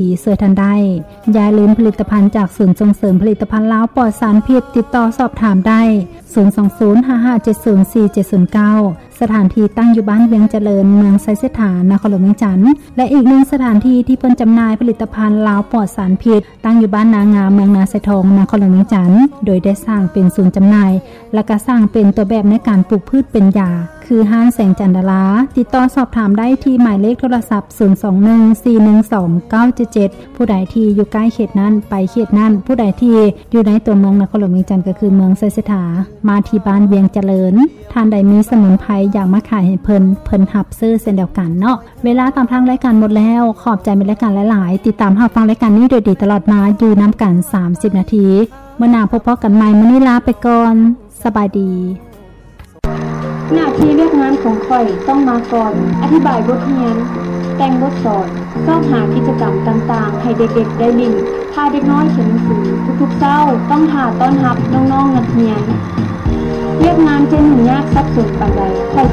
ທີ່ຊ່ວຍທ່ານໄດ້. ຢ່າລືມຜະລິດຕະພັນຈາກສູນສົ່ງເສີມຜະລິດຕະພັນລາວປອດສານພິດ, ຕິດຕໍ່ສອບຖາມໄດ້ ສູນສອງສູນ ຫ້າຫ້າເຈັດສູນ ສີ່ເຈັດສູນເກົ້າ. ສະຖານທີ່ຕັ້ງຢູ່ບ້ານວຽງຈະເລີນ, ເມືອງໄຊເສດຖາ, ນະຄອນຫຼວງວຽງຈັນ ແລະ ອີກໜຶ່ງສະຖານທີ່ທີ່ເພິ່ນຈຳໜ່າຍຜະລິດຕະພັນລາວປອດສານພິດ ຕັ້ງຢູ່ບ້ານນາງາມ, ເມືອງນາຊາຍທອງ, ນະຄອນຫຼວງວຽງຈັນ ໂດຍໄດ້ສ້າງເປັນສູນຈຳໜ່າຍ ແລະ ກະສ້າງເປັນຕົວແບບໃນການປູກພືດເປັນຢາ ຄືຮ້ານແສງຈັນດາລາ. ຕິດຕໍ່ສອບຖາມໄດ້ທີ່ໝາຍເລກໂທລະສັບ ສູນສອງໜຶ່ງ ສີ່ໜຶ່ງສອງ ເກົ້າເຈັດເຈັດ. ຜູ້ໃດທີ່ຢູ່ໃກ້ເຂດນັ້ນ ໄປເຂດນັ້ນ, ຜູ້ໃດທີ່ຢູ່ໃນຕົວເມືອງນະຄອນຫຼວງວຽງຈັນ ກໍຄືເມືອງໄຊເສດຖາ ມາທີ່ບ້ານວຽງຈະເລີນ. ທ່ານໃດມີສະໝຸນໄພຢາກມາຂາຍໃຫ້ເພິ່ນ, ເພິ່ນຮັບຊື້ເຊັ່ນດຽວກັນເນາະ. ເວລາຕາມທາງລາຍການໝົດແລ້ວ. ຂອບໃຈແມ່ນລາຍການຫຼາຍໆ. ຕິດຕາມຮັບຟັງລາຍການນີ້ໂດຍດີຕະຫຼອດມາ, ຢູ່ນຳກັນສາມສິບນາທີ. ມື້ໜ້າພົບພໍ້ກັນໃໝ່. ມື້ນີ້ລາໄປກ່ອນ. ສະບາຍດີ. ໜ້າທີ່ວຽກງານຂອງຂ້ອຍຕ້ອງມາກ່ອນ, ອະທິບາຍບົດຮຽນ, ແຕ່ງບົດສອນ, ຊອກຫາກິດຈະກຳຕ່າງໆໃຫ້ເດັກໆໄດ້ຫຼິ້ນ, ພາເດັກນ້ອຍຂຽນໜັງສື. ທຸກໆເຊົ້າຕ້ອງຖ້າຕ້ອນຮັບນ້ອງໆນັກຮຽນ. ວຽກງານຈະຫຍຸ້ງຍາກສັບສົນປານໃດ, ຂ້ອຍ